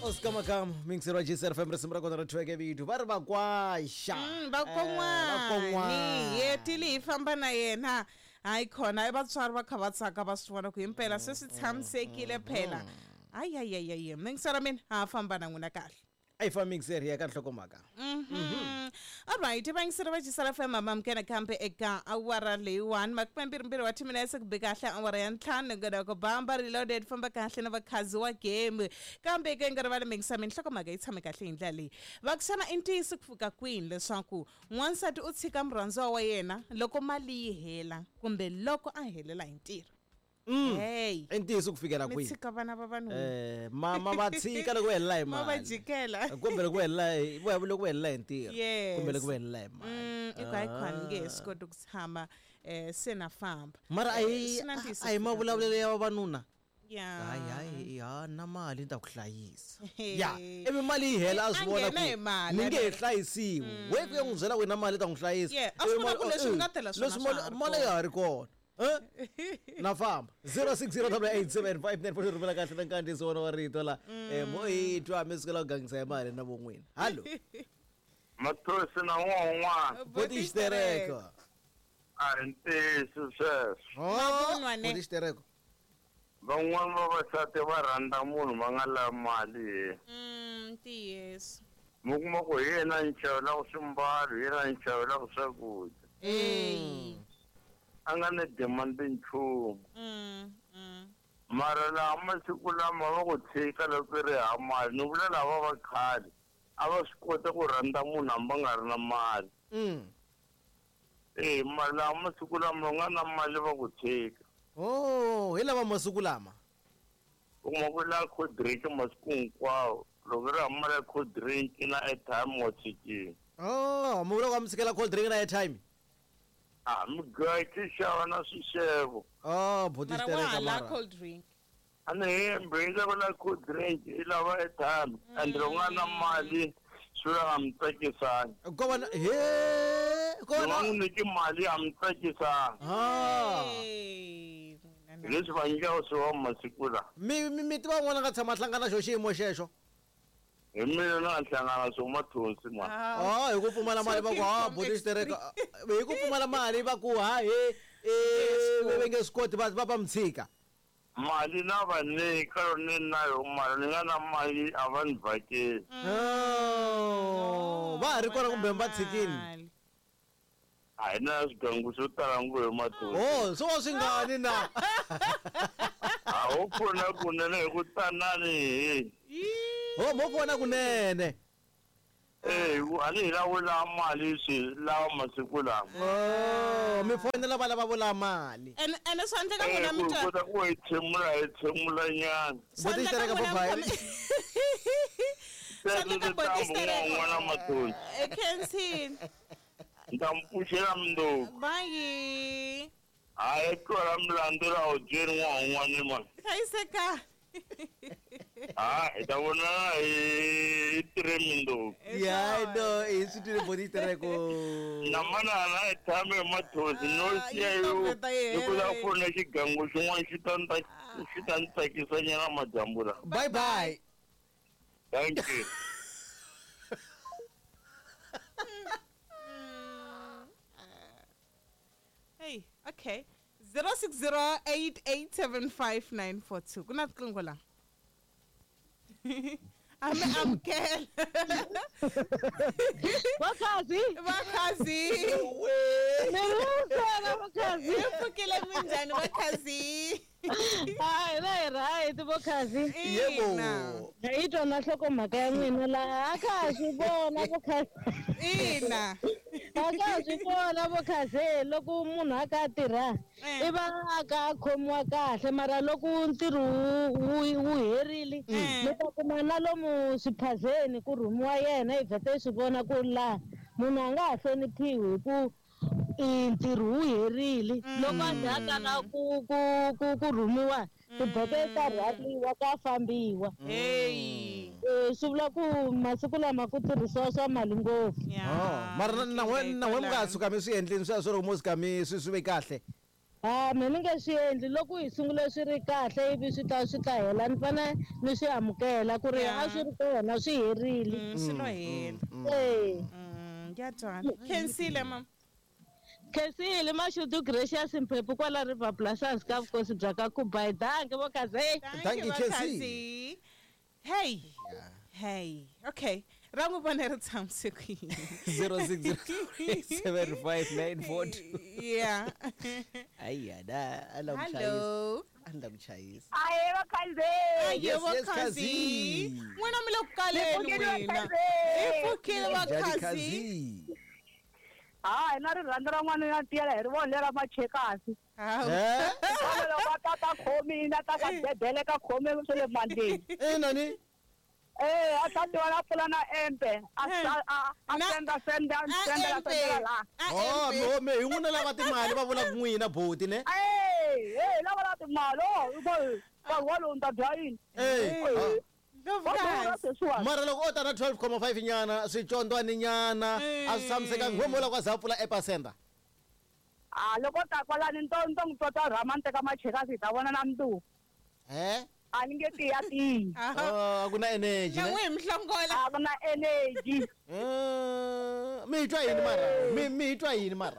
Oscar Makamu mixer wa GCR FM risimu ra kona ri thweke vito va ri vakwaxa Vakon'wani hetile hi famba na yena hayi khona i vatswari va kha va tsaka va swi vona ku himpela se swi tshamisekile phela hayi mixer mina ha famba na n'wina kahle. A yi famba mixer hi ya ka nhlokomhaka. Alright, vayingiseri va Jisala FM amamukela kambe eka awara leyiwani 22 wa timinetse ku be kahle awara ya 5 nongonoko bamba reloaded famba kahle na vakhazi wa game kambe eka nga rivali mingisa minhlokomhaka yi tshame kahle hi ndlela leyi va ku xana i ntiyiso ku fika kwini leswaku n'wansati u tshika murhandziwa wa yena loko mali yi hela kumbe loko a helela hi ntirho. Hey. I ntiyiso ku fikela Mi kwihi? tshika vana va vanhu. Mama va tshika loko va helela hi Ma va mali. jikela. Kumbe loko va helela hi loko va helela hi ntirho. Yes. Kumbe loko va helela hi mali. I ku hayi khona nge he swi koti ku tshama se na famba. Mara a hi Swi na ntiyiso a hi ku fika mavulavulelo ya vavanuna. Yeah. Hayi hayi ha na mali ni ta ku hlayisa. Ya, ivi mali yi hela a swi A vona nghena hi ku mali, ni nge he ane. hlayisiwi. We ku ya n'wi byela ku na mali ta n'wi hlayisa. Yeah, a swi Ivi vona ku mali- leswi nga tela swona leswi swa ha ri mali kona. ya ha ri kona. Na famba 0608875944 rhumela kahle na nkandziyiso wona wa rito la mo hi twa mi sukela ku gangisa hi mali na von'wina. Hallo. Mathosi na un'wana Boti xitereko. a hi ntiyiso sweswo. Mavunwa ne. Boti xitereko. Van'wani vavasati va rhandza munhu va nga lavi mali hi. Ntiyiso. Mi kuma ku hi yena ni xavelaka swimbalo, hi yena ni xavelaka swakudya. Hey. A nga ni demand nchumu. Mara laha masiku lama va ku tshika loko i ri hava mali, ni vula lava va khale a va swi kota ku rhandza munhu hambi va nga ri na mali. Mara laha masiku lama u nga na mali va ku tshika. Oh, hi lava masiku lama. U kuma ku la cold drink masiku hinkwawo. Loko ri hava mali ya cold drink na airtime wa tshikile. Oh, mi vula ku va mi tshikela cold drink na airtime? A mi gaki xava na swixevo. Oh, boti Mara wa xitereka ha la mara. cold drink. A ni hembi hi lava la cold drink i lava airtime and loko nga na mali swi vula a mi tsakisani. Ko va na he ko va Loko na a n'wi nyiki mali a mi tsakisani. Ah. Hey, n'wina na. Hi leswi va nyikaka swona masiku lawa. Mi mi mi tiva un'wana a nga tshama a hlangana xo xiyimo xexo. Hi mina na hlangana swo mathonsi ma. Oh, hi ku pfumala mali va ku ha Talking from boti xitereka. Hi ku pfumala mali va ku ha he va nge swi koti va va mi tshika. Mali na va nyika ni na yo mali ni nga na mali a va ni vhakeli. Oh, va ha ri kona kumbe va tshikini? Mali. A hi na swigangu swo tala ngopfu hi mathonsi. Oh, swo va swi ngani na? A ho pfuna kunene hi ku tanani hi. Oh, mo pfuna kunene. A ni hi lavo lava mali swi lava masiku lama. Oh, mi fonela va lava vo lava mali. Ene swa endleka n'wina mi Ku twa. kota ku hi tshemula hi tshemula nyana. Swa Boti endleka xitereka n'wina mi bye-bye. Swa endleka boti xitereka. N'wana mathonsi. Khensini. Ni ta mi pfuxela mundzuku. Bye. Hayi twala milandzu la wu byeli n'wana un'wana mani. Hlayiseka. Ha hi ta vonana hi 3 mundzuku. Ya no, i swi twile boti xitereko. Na manana hi tshame hi mathonsi no siya yi yo toveta yi hi ku hela la yi. fona xigangu xin'wana xi ta ni xi ta ni tsakisa nyana madyambu lawa. Bye bye. Thank you. Hey, okay. 0608875942. Ku na riqingho la. A mi amukela. Vakhazi. Vakhazi. Mirusela vakhazi. Hi pfukile minjhani vakhazi? Hayi na hi right vakhazi. Yebo. Hi twa na nhlokomhaka ya n'wina laha a ka ha swi vona vakhazi. Ina. A ka ha swi vona vakhazi loko munhu a ka a tirha i va a ka a khomiwa kahle mara loko ntirho wu herile mi ta kuma na lomu swiphazeni ku rhumiwa yena hi vhete hi swi vona ku laha munhu a nga ha hloniphiwi hi ku ntirho wu herile loko a za a kala ku ku ku ku rhumiwa tibeke ta rhwaliwa ka fambiwa. Hey. Swi vula ku masiku lama ku tirhisiwa swa mali ngopfu. Oh, mara na n'we mi nga tshuka mi swi endlini sweswo loko mo suka mi swi swi ve kahle. Ha me ni nge swi endli loko hi sungule swi ri kahle ivi swi ta swi ta hela ni fanele ni swi amukela ku ri a swi ri kona swi herile. Swi lo hela. Eh. Ya twala. Khensile mama. Khensile Mashudu Gracious Mphephu kwala River Blasas ka vukosi bya ka Kubai. Dankie vo Khazi. Thank you, va Khensi. Khazi. Hey. Hey. Okay. Ra n'wi vona ri tshamise ku yini? 06075942. Yeah. Ayi da, a la ku chayisa. Hello. A ni la ku chayisa. Ahe vakhandziyi. Aye Yes, yes, vakhazi. Khazi. N'wina mi le ku kaleni Ni pfukile n'wina. vakhazi. Hi pfukile Njhani vakhazi. Khazi? Ha hi na rirhandzu ra n'wana ya tiyela hi ri vona lera machekasi. Hawu. Eh? Vona loko a ta ta khomile a ta ka bebele ka khome swa le mandleni. Eh nani? Eh a ta tiva na pfula na empe a a a Na- senda senda A sendela empe. sendela la. A Oh, empe. me me hi n'wina lava timali va vulaka n'wina boti ne? Eh eh lava la timali oh i nkarhi walowu ni ta dya yini? Eh. Eh. Va durha Ndlovukazi. sweswiwani. Mara loko o ta na 12.5 nyana swicondwani nyana a swi tshamisekanga nghomo la kwa za pfula epasenda. A loko ta kwalani ni to ni to n'wi tota rhama ni teka machekasi hi ta vona na mundzuku. Eh? A ni nge tiya tiyi. Aha. Oh, a ku na energy Na ne? n'wi hi mihlongola. A ku na energy. Eh, mi hi twa yini mara? Mi hi twa yini mara?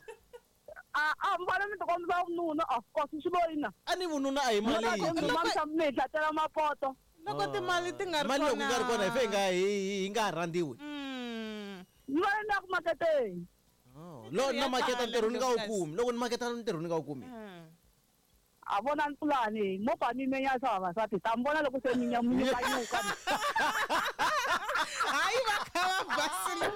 A a mi fanele mi tikombisa vununa of course swi lo yina. A ni vununa a hi mali yintshwa. Mi hi hlatela mapoto. Loko timali ti nga ri Mali loko yi nga ri kona hi fe hi nga hi nga ha rhandziwi. Ni va ni ya ku maketeni. Lo ya na maketa tala, ntirho ni nga wu Ndlovukazi. kumi. Loko ni maketa ntirho ni nga wu kumi. A vona ni pulani mo pfa mi menya swa vavasati ta mi vona loko se mi nyukanyuka. Hayi va kha va basile.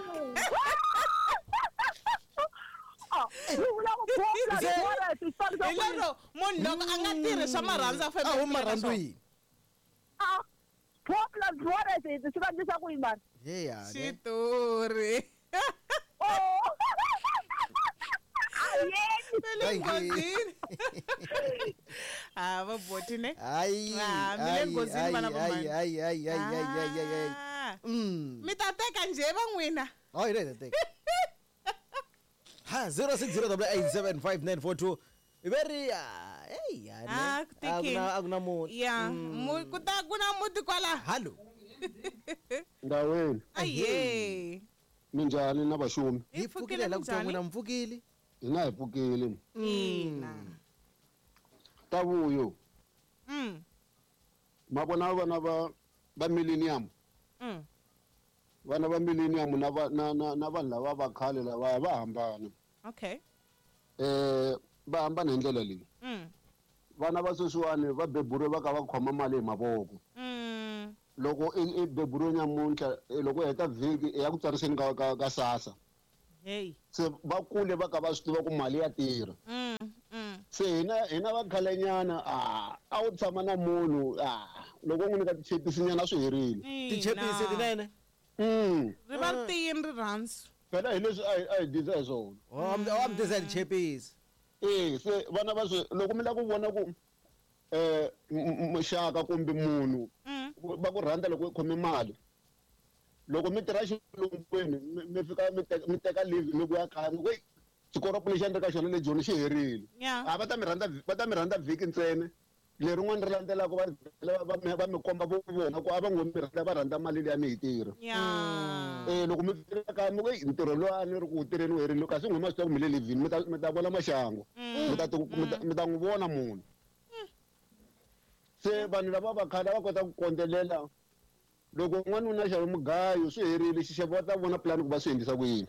Ah, ni vula ku bola bola swi fanisa Hi ku lero munhu loko a nga tirhi swa marhandzu a A fanele wu marhandzu yini? ah bola bola swi vanisa ku yini mara. Ye ya. Ne. Xitori. Oh. Ayeni. Va le Thank you. nghozini. Ah, va boti ne. Hayi. Ah, mi le hayi, nghozini hayi, vana va hayi, mhani. hayi, hayi, hayi, hayi, hayi, hayi. Ah. Mm. Mi ta teka njhe va n'wina? Oh, hi ta teka. Ha 0608875942. Very hey ya ne. Ah, ku tikile. A ku na munhu. Ya, ku ta ku na muti kwala. Hallo. Ndaweni Aye. minjhani na vaxumi Hi pfukile la ku twa n'wina mi pfukile. hina hi pfukile Ina. ta vuyo Ma vona vana va millennium vana va millennium na va na na na vanhu lava va khale lava va hambana. Okay. Va hambana hi ndlela leyi. Vana va sweswiwani va beburiwe va ka va khoma mali hi mavoko. Loko i beburiwe nyamuntlha loko u heta vhiki i ya ku tsariseni ka SASSA. Hey. Se va kule va ka va swi tiva ku mali ya tirha. Se hina va khalenyana a wu tshama na munhu loko u n'wi nyika tichepisi nyana swi herile. Tichepisi tinene. Ri va ri tiyini rirhandzu. Phela hi leswi a hi dyisa hi swona. Oh, am disa tichepisi. Eh se vana va swi loko mi lava ku vona ku muxaka kumbe munhu va ku rhandza loko u khome mali. Loko mi tirha xilungwini mi fika mi teka leave mi vuya kaya mi ku xikoropo lexi a ni ri ka xona le Joni xi herile. A va ta mi rhandza va ta mi rhandza vhiki ntsena. Lerin'wana ri landzelaka va mi komba vo vona ku a va ngo mi rhandza va rhandza mali liya mi yi tirha. Loko mi fika kaya mi ku ntirho lowu a ni ri ku wu tirheni wu herile kasi n'wina ma swi tiva ku mi le leave-ini mi ta vona maxangu. Mi ta n'wi vona munhu. Se vanhu lava va khale va kota ku kondzelela. Loko n'wanuna a xave mugayo swi herile xixevo va ta vona pulani ku va swi endlisa ku yini.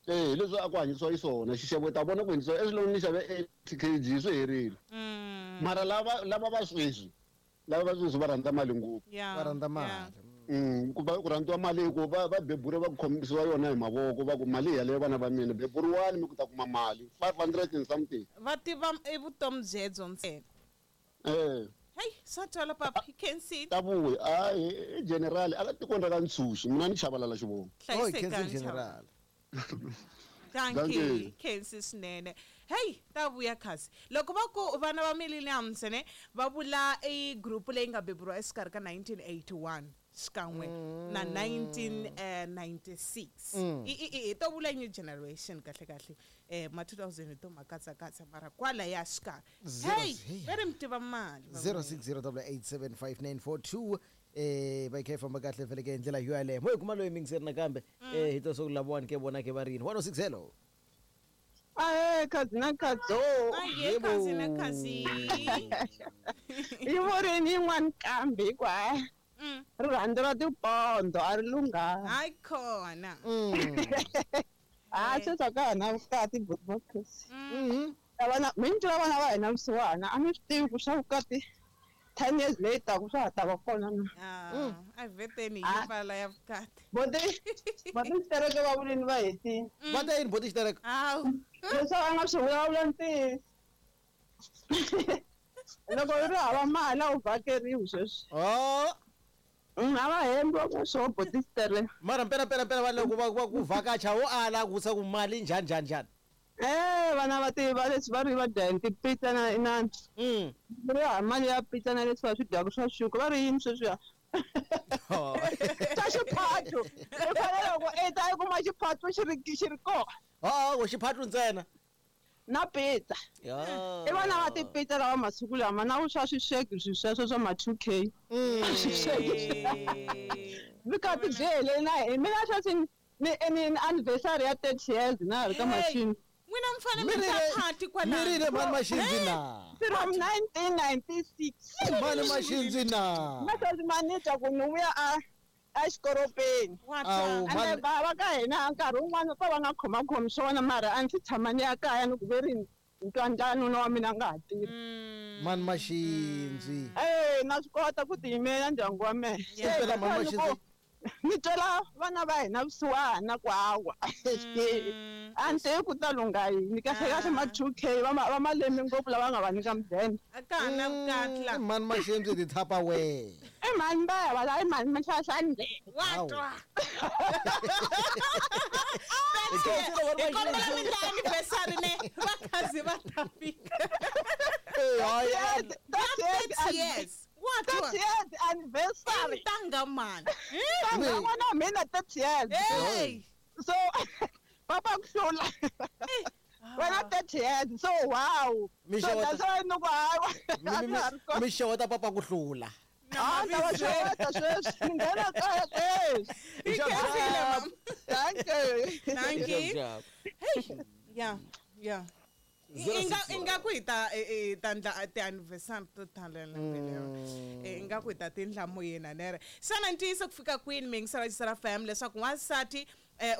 Hi leswi a ku hanyisiwa xiswona xixevo ta vona ku endlisiwa eswilon'wini ni xave 80 kg swi herile. Mara lava va sweswi lava va sweswi va rhandza mali ngopfu. Va rhandza mali. Ku va ku rhandziwa mali hi ku va beburiwa va ku khomisiwa yona hi mavoko va ku mali yaleyo vana va mina beburiwani mi ku ta kuma mali 500 and something. Va tiva i vutomi byebyo ntsena. Hey, swa twala papa, you can see. Ta vuya i general a la tikweni ra ka Ntshuxi mina ni Chabalala xivongo. Oh, Kensi general. Dankie, Kensi swinene. Hey, ta vuya khasi. Loko va ku vana va millenniums ne va vula i group leyi nga beburiwa exikarhi ka 1981 xikan'we na 1996. I to vula new generation kahle kahle. Ma 2000 hi to ma katsakatsa mara kwala ya xikarhi. Hey, va ri mi tiva mali. 0608875942 va kha yi famba kahle vhele ke hi ndlela yo yaleyo mo hi kuma loyi mingiseri nakambe hi to swa ku lavawani ke vona ke va ri yini 106 hello. Ahe, khazi na khadzo. Aye, khazi na khazi. Yi vurini yin'wana kambe hikuva rirhandzu ra tipondo a ri lunghanga. Hayi khona. A sweswi a ka ha na vukati buti. Vana mi ni twela vana va hina vusiwana a mi swi tivi ku swa vukati 10 years later ku swa ha ta va kona na. A vheteni yi pfala ya vukati. Boti xitereke va vulini va hetile. Va ta yini boti xitereke? Hawu. Leswi va nga swi vulavula ntiyiso. Loko u ri hava mali a wu vhakeriwi sweswi. A va hembi va ku swo boti xitereke. Mara mpela mpela mpela va loko va ku vhakacha wo ala ku vutisa ku mali njhani njhani njhani. Vana va tiva leswi va ri va dya hi tipitsa na inani. Ri hava mali ya pitsa na leswi va swi dyaka swa xuka va ri yini sweswiya. Swa xiphato. U fanele loko i ta i kuma xiphato xi ri kona. Hawa xiphato ntsena. Na pizza. I vana va tipitsa lava masiku lama na ku swa swisheki swi sweswo swa ma 2K. Swisheki. Vukati byi hele na hi mina sweswi ni anniversary ya 30 years na ri ka machini. N'wina mi fanele mi ta party kwalano. Mi rile mhani Maxindzi na. From 1996. Mhani Maxindzi na. Na sweswi mani twa ku ni vuya a exikoropeni. Ende va ka hina nkarhi wun'wana va va nga khomakhomi swona mara a ndzi tshama ni ya kaya ni ku ve ri ni twa ndlala nuna wa mina a nga ha tirhi. Mhani Maxindzi. Na swi kota ku tiyimela ndyangu wa mina. Impela mhani Maxindzi. Ni twela vana va hina vusiwana ku hawa. A ni tivi ku ta lungha yini kahle kahle ma 2K va malemi ngopfu lava nga va nyika mudende. A ka ha na vukati la. Mhani Maxindzi ti Tupperware. I mhani va ya va la i mhani Maxaxani. Wa twa. Hi kombela mi ndla anniversary ne va khazi va ta fika. Hayi, years. What? 30 years anniversary. Ntanga man. Ntanga n'wana wa mina 30 years. Hey. So papa ku hlula. Wena 30 years. So wow. So that's why no ku hawa. Mi xeweta papa ku hlula. Ah, ta va xeweta sweswi. Ni nghena kaya sweswi. Thank you. Thank you. Hey. Yeah. Yeah. Ingaku hi ta ta ndla ti-anniversary to tala lembe lero. Ingaku hi ta tindla moyeni nere. Xana ntiyiso ku fika kwini mi yingisela Xisera FM leswaku wansati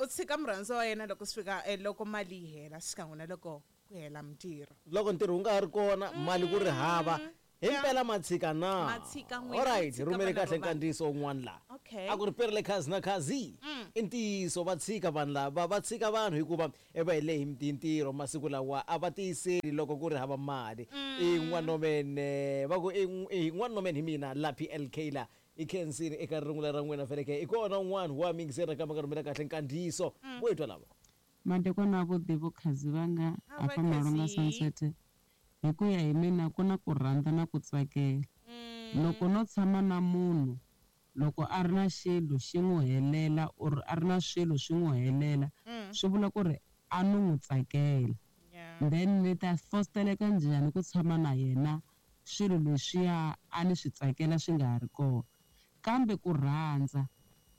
u tshika murhandziwa wa yena loko swi fika loko mali yi hela xikan'we na loko ku hela mintirho. Loko ntirho wu nga ha ri kona mali ku ri hava himpela matshika na. Matshika n'wina, Alright, matshika rhumele vana kahle va vanhu. nkandziyiso wun'wana laha. Okay. A ku ri perile khazi na khazi. I ntiyiso va tshika vanhu lava va tshika vanhu hikuva va hele hi ntirho masiku lawa a va tiyiseli loko ku ri hava mali. I n'wanomene va ku i n'wanomene hi mina la PLK la i khensini eka rungula ra n'wina feleke i kona un'wana wa mingiseri nakambe ka rhumela kahle nkandziyiso vo hi twa lava. Madekwana avuḓi vho khazi vanga hafha Malonga Sunset. Hi ku ya hi mina ku na ku rhandza na ku tsakela. Loko no tshama na munhu loko a ri na xilo xi n'wi helela or a ri na swilo swi n'wi helela swi vula ku ri a ni n'wi tsakela. Then ni ta fosteleka njhani ku tshama na yena swilo leswiya a ni swi tsakela swi nga ha ri kona. Kambe ku rhandza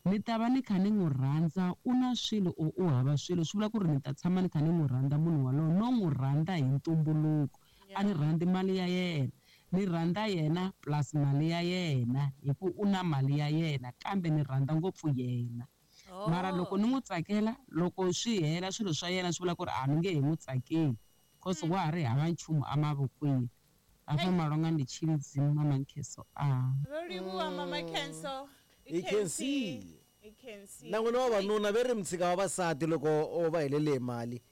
ni ta va ni kha ni n'wi rhandza u na swilo or u hava swilo swi vula ku ri ni ta tshama ni kha ni n'wi rhandza munhu walowo no n'wi rhandza hi ntumbuluko. A ni rhandzi mali ya yena ni rhandza yena plus mali ya yena hi ku u na mali ya yena kambe ni rhandza ngopfu yena. Mara loko ni n'wi tsakela loko swi hela swilo swa yena swi vula ku ri a ni nge he n'wi tsakeli cause wa ha ri hava nchumu emavokweni. Hafha Malonga ndi Tshilidzi Mama Nkheso a. Ro livhuwa Mama Nkheso. I can see. I can see. Na n'wina vavanuna ve ri mi tshika vavasati loko o va helele hi mali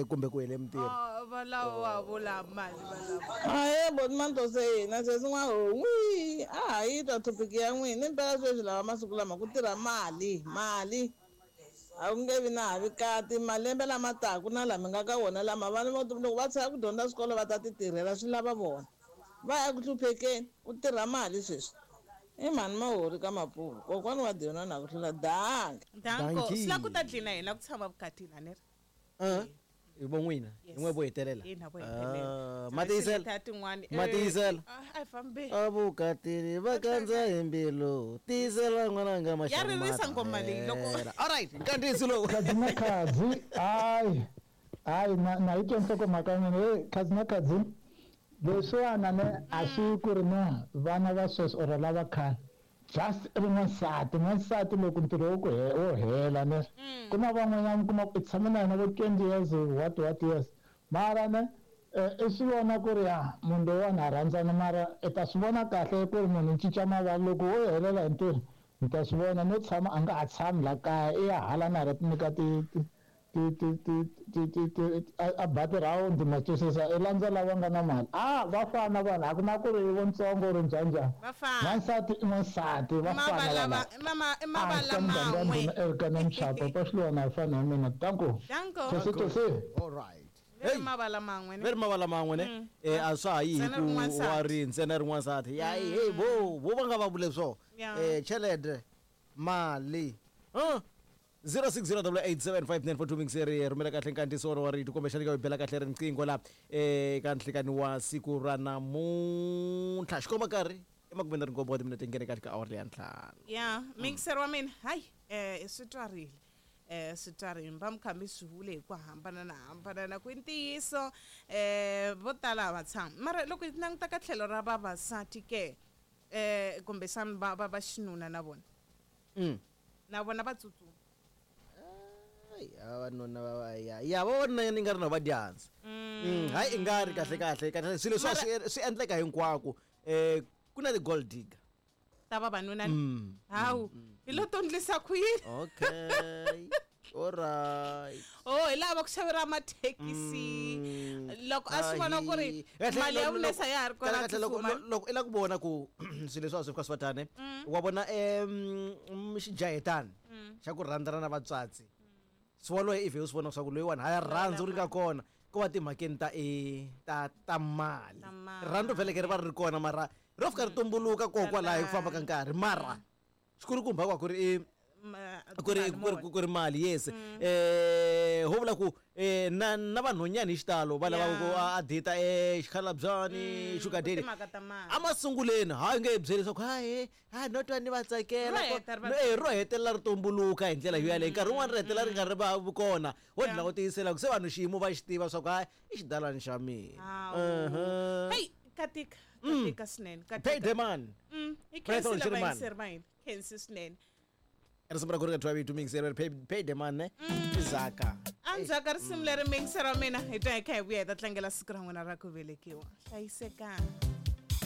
kumbe ku hele mintirho. Va lava va vula mali va lava. Ahee boti Mantose na sweswi n'wahon'wi a ha yi twa topic ya n'wina impela sweswi lawa masiku lama ku tirha mali mali. A ku nge vi na havikati malembe lama taku na lama nga ka wona lama vana loko va tshika ku dyondza swikolo va ta ti tirhela swi lava vona. Va ya ku hluphekeni ku tirha mali sweswi. I mhani Mahori ka Mapuve kokwani wa Diona na ku hlula danke. Danko swi lava ku ta dlina hina ku tshama vukatini a ni ri. Hi vo n'wina hi n'we vo hetelela. Hina vo hetelela. Ma tiyisela Ta tin'wani. Ma tiyisela. A hi fambe. Avukatini va kandza hi mbilu tiyisela n'wananga Ya ririsa nghoma leyi loko- Alright nkandziyiso lowu. Khadzi na khadzi hayi hayi na yi twa nhlokomhaka ya mina hey khadzi na khadzi leswiwana ne a swi ku ri na vana va sweswi or lava khale just i ri n'wansati n'wansati loko ntirho wo ku wo hela ne ku na van'wanyana mi kuma ku i tshame na yena vo 20 years what years mara ne i swi vona ku ri ya munhu loyiwani ha rhandzana mara i ta swi vona kahle ku ri munhu u cinca mavali loko wo helela hi ntirho mi ta swi vona no tshama a nga ha tshami la kaya i ya hala na hala ti nyika ti ti ti ti ti ti ti ti a ba ti-round ma twisisa i landza lava nga na mali a va fana vanhu a ku na ku ri vontsongo ri njhanjhani n'wansati i n'wansati va fana vanhu mavala muganga man'we ndhuna Erika na Mchapa paxilwana hi fana na mina danko Danko. Tosi tosi All right. Ve ri mavala man'we ne Ve ri mavala man'we ne a swa ha yi hi Ntsena ku ri n'wansati. wa ri ntsena ri n'wansati ya hey vo vo va nga va vule swo chelede mali huh? 0608875942 mingiseri rhumela kahle nkandziyiso wa rito kumbexana ka bela kahle riqingho la eka nhlikani wa siku ra namuntlha xikomba nkarhi i makume na rinkombo wa timinete nghene kahle ka awara leya ntlhanu. Ya mixer wa mina hayi swi twarile swi twarile mi va mi kha mi swi vule hi ku hambana na hambana na ku i ntiyiso vo tala a va tshami mara loko hi languta ka tlhelo ra vavasati ke kumbexana va va va xinuna na vona na vona va tsutsuma. Vavanuna va ya ya vavanuna ni nga ri na va dyandza hayi i nga ri kahle kahle kahle swilo leswi swi endleka hinkwako ku na ti-gold digger ta vavanuna hawu hi lo to ndlisa ku yini. Okay alright. Oh hi lava ku xaveriwa mathekisi loko a swi vona ku ri mali ya vunesa ya ha ri kona kahle loko loko i la ku vona ku swilo leswi a swi fika swi va tani wa vona xijahetani xa ku rhandzana na vatswatsi swi waloye if u swi vona leswaku loyiwani ha ya rhandza u ri nga kona ko va timhakeni ta ta ta mali rirhandzu vheleke ri va ri ri kona mara ro fika ri tumbuluka kokwalaho hi ku famba ka nkarhi mara xikulukumba kwa ku ri ku ri mali yes ho vula ku na na vanhwanyana hi xitalo va lava ku a data xikhalabyani sugar daddy emasunguleni hayi nge byeli leswaku hayi ha no twa ni va tsakela ro hetelela ri tumbuluka hi ndlela yo yaleyo nkarhi wun'wani ri hetelela ri nga ri va kona wo dlina ku tiyisela ku se vanhu xiyimo va xi tiva swa ku hayi i xidalani xa mina. Heyi katika katika swinene Pay the man. I khensile vayingiseri va hina khensi swinene. Risimu ra ku ri ka thwa vito mingiseri pay the man ne i Zaka. Endzhaku ka risimu leri mingiseri wa mina hi twa hi kha hi vuya hi ta tlangela siku ra n'wina ra ku velekiwa hlayisekani.